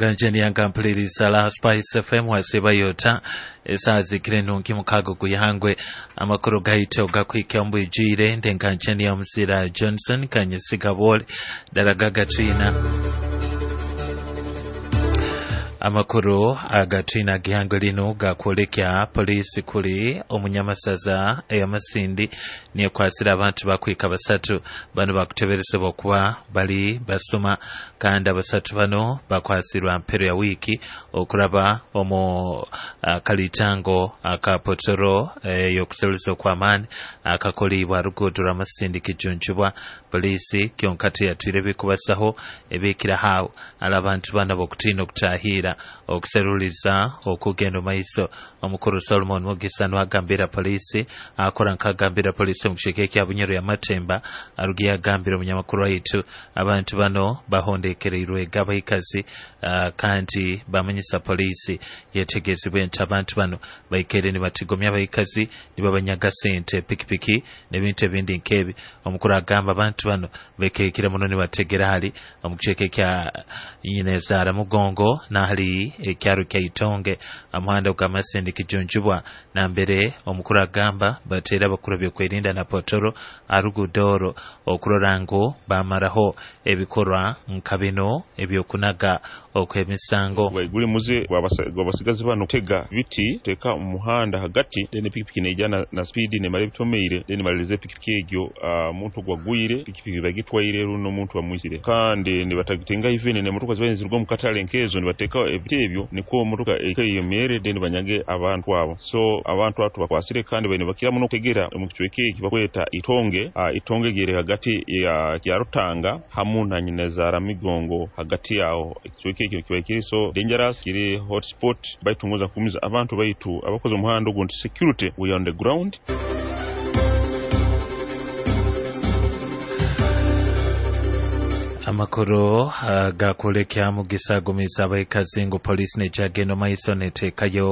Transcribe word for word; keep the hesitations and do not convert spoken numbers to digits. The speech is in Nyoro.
Ganjeni mpuliriza la Spice F M wasibayota esazi nungi mukago guyangwe amakuru gaito gakwike ombwijire ndenganjeni ya Muzira Johnson kanyesiga bole daragaga twina amakuru agatwina gihangwe lino gakwolekya polisi kuli omunyamasaza eyamasindi niyekwasira abantu bakwika basatu bano bakuteberesebwa okuba bali basoma kandi abasatu bano bakwasirwa mpero ya wiki okuraba omu uh, kalitango akapotoro eyokuseruliza okw'amaani akakolibwa ruguudo rw'amasindi kijunjubwa polisi kyonkati yatwire bikubasaho ebikirahawo ala abantu bano bokutiina okutahira okuseruliza okugenda maiso. Omukuru Solomon Mugisa nwagambira polisi akora nkagambira polisi mu kisheke kya Bunyoro ya Matemba arugiye agambira omunyamakuru waitu abantu bano bahondekereirwe gabaikazi uh, kandi bamanyisa polisi yetegezibwe nti abantu bano baikere nibatigomya abaikazi nibabanyaga sente pikipiki n'ebintu ebindi nkebi. Omukuru agamba abantu bano bekekire muno nibategera hali omu kisheke kya Nyinezara Mugongo nahali ekyaro kya Itonge amuhanda gwa kijunjubwa na mbere. Omukuru agamba batera abakuru byokwerinda na potoro arugudoro okurora ngo bamaraho ebikorwa nka bino ebyokunaga okwemisango. Guli muze gwabasigazi bano tega biti teka umuhanda hagati then pikipiki nejana na speed ne male bitomeire then malirize pikipiki egyo uh, muntu gwagwire pikipiki bagitwaire runo muntu bamwisire kandi nibatagitenga even ne motoka zibaye mu katale nkezo nibateka ebiti ebyo niko motoka ekeyemere then banyage abantu abo. So abantu atu bakwasire kandi bene bakira muno kutegera mu kicweke eki bakweta Itonge uh, Itonge gere hagati ya ya Rutanga hamu na Nyinezara Migongo hagati yaho ekicweke ekyo kiba kiri so dangerous kiri hotspot baitunguza kumiza abantu baitu abakoze umuhanda ogu nti security we on the ground. Amakuru uh, gakulekya Mugisa agumiza abaikazi ngu polisi nejagenda maiso netekayo